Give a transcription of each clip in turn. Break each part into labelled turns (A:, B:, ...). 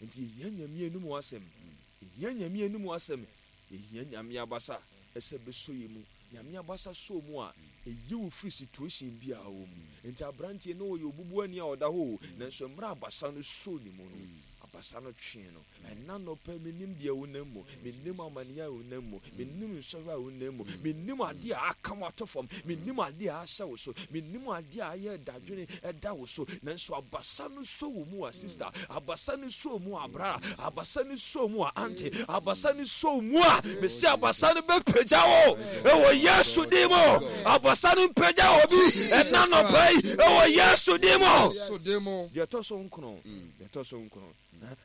A: Nti yɛhia Nyame anum asɛm. Yɛhia Nyame anum asɛm. Yɛhia Nyame abasa sɛ bɛsɔ yɛn mu. Nyame abasa sɔ wo mu a, ɛyi wo firi situation biara wɔ mu. Nti abranteɛ no ɔyɛ obubuani a ɔda hɔ o, nanso mmerɛ abasa no sɔɔ ne mu no, abasa no twee no. Ɛna anɔpa yi, mennim deɛ wonam mu, mennim amaneɛ a wonam mu, mennim nsɔhwɛ a wonam mu, mennim adeɛ a aka wo ato fam, mennim adeɛ a ahyɛ wo so, mennim adeɛ a ayɛ dadwene ɛda wo so, nanso abasa no sɔ wo mu a sister, abasa no sɔ wo mu a bra, abasa no sɔ wo mu a auntie, abasa no sɔ wo mu a, mese abasa no bɛpagya wo ɛwɔ Yesu din mu. Abasa no mpagya obi ɛna anɔpa yi ɛwɔ Yesu din mu. Deɛ ɛtɔ so nkono, deɛ ɛtɔ so nkono.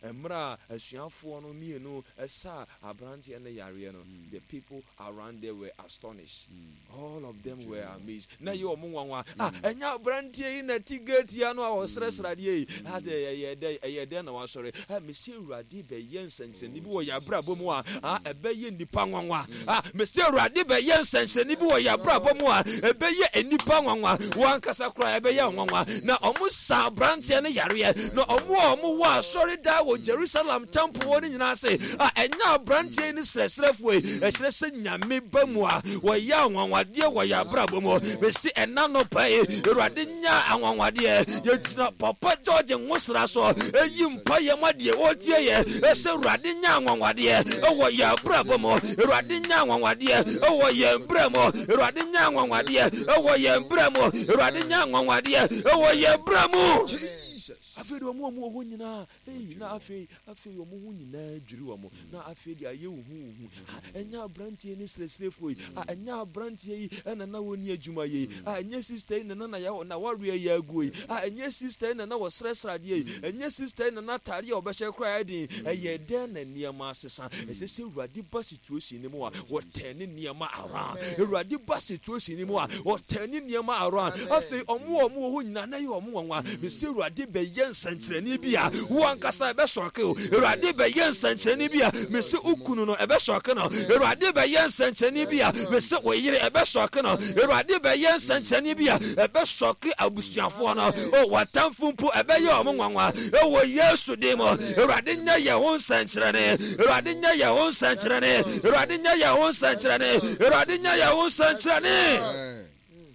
A: Mmerɛ a asuafoɔ no mmienu saa aberanteɛ no yareɛ no, the people around there were astonished. All of them were amazed. Na ɛyɛ wɔn nwanwa. Ah, ɛnyɛ aberanteɛ yi na ɛte gate yi ano a ɔsrɛsrɛ adeɛ yi. Ah, dɛ ɛyɛ dɛ ɛyɛ dɛn na wasɔre. Ah, mesi Awurade bɛyɛ nsɛnkyerɛnne bi wɔ yɛn abrabɔ mu a, ah, ɛbɛyɛ nnipa nwanwa. Ah, mese Awurade bɛyɛ nsɛnkyerɛnne bi wɔ yɛn abrabɔ mu a ɛbɛyɛ nnipa nwanwa. Wɔn ankasa koraa ɛbɛyɛ nwanwa. Na wɔn sa aberanteɛ no yareɛ. Na wɔn a wɔn wɔ asɔre daa wɔ Jerusalem temple hɔ no nyinaa se, ah, ɛnyɛ aberanteɛ yi ne srɛsrɛfoɔ yi. Ɛkyerɛ sɛ Nyame ba mu a wɔyɛ anwanwadeɛ wɔ yɛn abrabɔ mu. Mese ɛna nɔpa yi, Awurade nya anwanwadeɛ. Yɛgyina Papa George Nwosra so ɛyi mpaeɛ ma deɛ ɔretie yɛ sɛ Awurade nya anwanwadeɛ ɛwɔ yɛn abrabɔ mu. Awurade nya anwanwadeɛ ɛwɔ yɛn brɛ mu. Awurade nya anwanwadeɛ ɛwɔ yɛn brɛ mu. Awurade nya anwanwadeɛ ɛwɔ yɛn brɛ mu. Afei deɛ wɔn a wɔwɔ hɔ nyinaa Ei, na afei, afei wɔn ho nyinaa dwiri wɔn, na afei deɛ ayɛ huhuuhu. Ah, ɛnyɛ aberanteɛ ne srɛsrɛfoɔ yi, ah, ɛnyɛ aberanteɛ yi ɛna na wɔnni adwuma yɛ yi, ah, ɛnyɛ sista yi na na na wareɛ yɛ aguo yi, ah, ɛnyɛ sista yi na na wɔsrɛsrɛ adeɛ yi, ɛnyɛ sista yi na na ataadeɛ a ɔbɛhyɛ koraa yɛ den. Ɛyɛ dɛn na nneɛma asesa? Ɛsɛ sɛ Awurade ba situation no mu a, wɔtɛne nneɛma around. Awurade ba situation no mu a, wɔtɛne nneɛma around. Afei, wɔn a wɔwɔ hɔ nyinaa na ɛyɛ wɔn nwanwa. Mese Awurade bɛyɛ nsɛnkyerɛnne bi a wo ankasa ɛbɛsɔke o. Awurade bɛyɛ nsɛnkyerɛnne bi a mese wo kunu no ɛbɛsɔke no. Awurade bɛyɛ nsɛnkyerɛnne bi a mese wo yere ɛbɛsɔke no. Awurade bɛyɛ nsɛnkyerɛnne bi a ɛbɛsɔke abusuafoɔ no. O w'atamfo mpo ɛbɛyɛ wɔn nwanwa. Ɛwɔ Yesu din mu. Awurade nyɛ yɛn ho nsɛnkyerɛnne. Awurade nyɛ yɛn ho nsɛnkyerɛnne. Awurade nyɛ yɛn ho nsɛnkyerɛnne. Awurade nyɛ yɛn ho nsɛnkyerɛnne.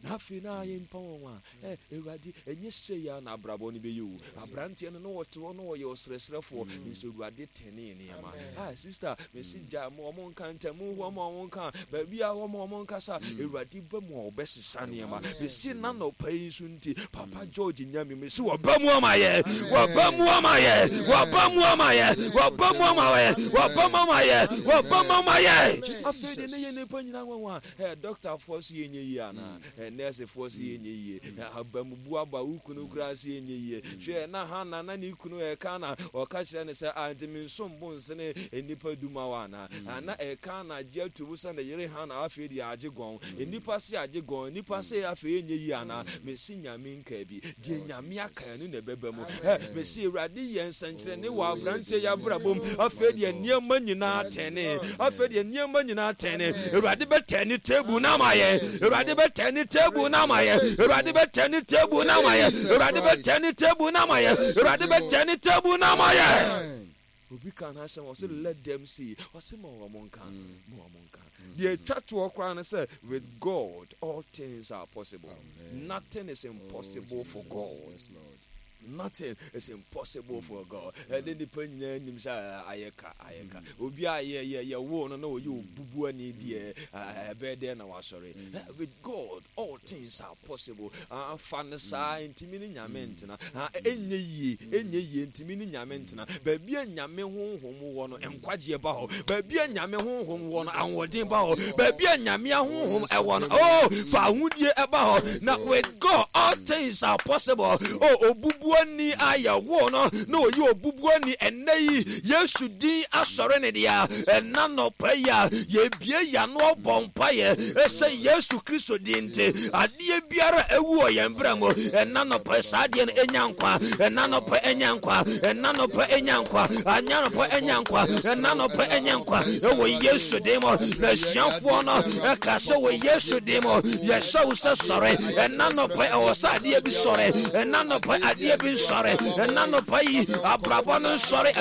A: Na afei na ayɛ mpa wɔn a, ɛ, Awurade, ɛnyɛ sei ara na abrabɔ no bɛyɛ o. Aberanteɛ no, na ɔte hɔ na ɔyɛ ɔsrɛsrɛfoɔ, nanso Awurade tɛnee nneɛma. Ah, sista, mese gya ma wɔn nka ntam, hɔ ma wɔn nka, baabi a hɔ ma wɔn nkasa. Awurade ba mu a ɔbɛsesa nneɛma. Mese n'anɔpa yi nso nti, Papa George Nyame, mese wɔba mu ama yɛ, wɔba mu ama yɛ, wɔba mu ama yɛ, wɔba mu ama yɛ, wɔba mu ama yɛ, wɔba mu ama yɛ. Afei deɛ ne yɛ nnipa nyinaa nwanwa. Ɛ, dɔktafoɔ se yɛnyɛ yie anaa? Ɛ, nɛɛsefoɔ se yɛnyɛ yie. Ɛ, abamubu aba wo kunu koraa se yɛnyɛ yie. Hwɛ, na Hana, na ne kunu Elkana, ɔka kyerɛ no sɛ, Ah, nti mensom bo nsene nnipa du ma wo anaa? Ah, na Elkana agye ato mu sɛ ne yere Hana afei deɛ agye gɔn. Nnipa se agye gɔn, nnipa se afei yɛnyɛ yie anaa? Mese Nyame nkaa bi. Deɛ Nyame aka ɛno na ɛbɛba mu. Ɛ, mese Awurade yɛ nsɛnkyerɛnne wɔ aberanteɛ yi abrabɔ mu. Afei deɛ nneɛma nyinaa tɛnee. Afei deɛ nneɛma nyinaa tɛnee. Awurade bɛtɛne table no ama yɛn. Awurade bɛtɛne table no ama yɛn. Awurade bɛtɛne table no ama yɛn. Awurade bɛtɛne table no ama yɛn. Awurade bɛtɛne table no ama yɛn. Obi ka n'asɛm ɔse let them see. Ɔse ma wɔn nka. Ma wɔn nka. Deɛ ɛtwa toɔ koraa ne sɛ with God all things are possible. Amen. Nothing is impossible oh, for God. Yes, Lord. Nothing is impossible for God. Ɛde nipa nyinaa nim sɛ ayɛ ka ayɛ ka. Obi a yɛ yɛ yɛ wo no na ɔyɛ obubu ani deɛ ɛbɛyɛ dɛn na wasɔre. With God all things are possible. Fa no saa ntumi ne Nyame ntena. Ɛnyɛ yie ɛnyɛ yie ntumi ne Nyame ntena. Baabi a Nyame honhom wɔ no nkwagyeɛ ba hɔ. Baabi a Nyame honhom wɔ no ahoɔden ba hɔ. Baabi a Nyame ahonhom ɛwɔ no oh fa ahodie ɛba hɔ. Na with God all things are possible. Oh obubuani a yɛwoo no na ɔyɛ obubuani ɛnnɛ yi Yesu din asɔre ne dea. Ɛna nɔpa yi a yɛbie yɛano abɔ mpaeɛ ɛsɛ Yesu Kristo din nti adeɛ biara ɛwu wɔ yɛn berɛ mu ɛna nɔpa saa adeɛ no ɛnya nkwa. Ɛna nɔpa ɛnya nkwa. Ɛna nɔpa ɛnya nkwa. Ɛna nɔpa ɛnya nkwa. Ɛna nɔpa ɛnya nkwa. Ɛwɔ Yesu din mu. Na asuafoɔ no ɛka sɛ wɔ Yesu din mu yɛhyɛ wo sɛ sɔre. Ɛna nɔpa ɛwɔ sɛ adeɛ bi sɔre. Ɛna nɔpa adeɛ bi nsɔre. Ɛna nɔpa yi abrabɔ no nsɔre.